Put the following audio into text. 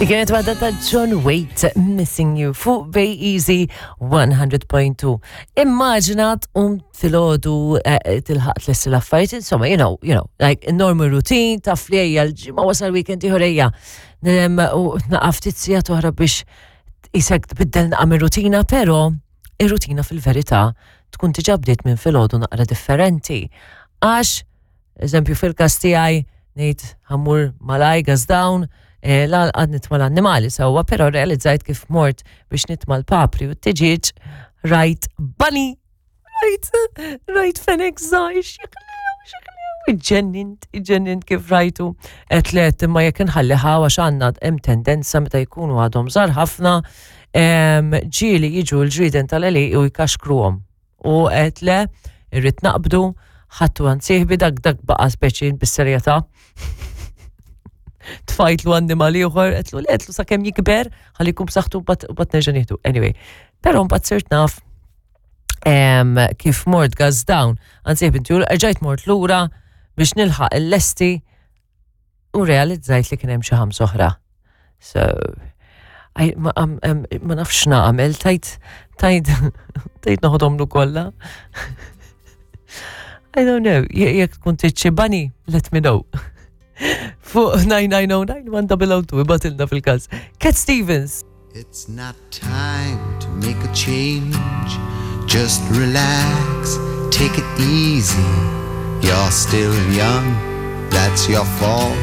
Kienet waħda ta' John Waite, Missing You, fuq Bay Easy 100.2. Immaġina tqum filgħodu eh, eh, tilħaq tlessi l-affarijiet, insomma, you know, you know, like normal routine, taf li ejja l-ġimgħa wasal weekend ieħor ejja. U naqaf ftit sigħat oħra biex isek tbiddel naqa' mir-rutina, però ir-rutina fil-verità tkun diġà bdiet minn filgħodu naqra differenti. Għax, eżempju fil-każ tiegħi ngħid ħammur malaj gas down, eh, l-għad nitma l-annimali sewwa, però realizzajt kif mort biex nitma l-papri u t-tiġiġ rajt bunny Rajt, rajt fenek zaħi, xiklew, xiklew, iġġennint, iġġennint kif rajtu. Et le, imma jekk nħalli ħawa xanna hemm tendenza meta jkunu għadhom żgħar ħafna, ġieli jiġu l-ġrieden tal-għeli u jkaxkruhom. U qed le, irrid naqbdu, ħattu għand sieħbi dak dak baqa' speċi bis-serjetà. Tfajtlu annimal ieħor, qedlu le, qedlu sakemm jikber, ħalli jkun b'saħħtu u bat nerġa' nieħdu. Anyway, però mbagħad sirt naf kif mort gas down, anzi binti, rġajt mort lura biex nilħaq il-lesti u realizzajt li kien hemm xi ħams oħra. So, ma, ma nafx nagħmel, tajt, tajt, tajt noħodhom kollha. I don't know, jekk tkun tiċċibani, let me know. Fuq 9909 1002 fil-każ. Cat Stevens. It's not time to make a change. Just relax, take it easy. You're still young, that's your fault.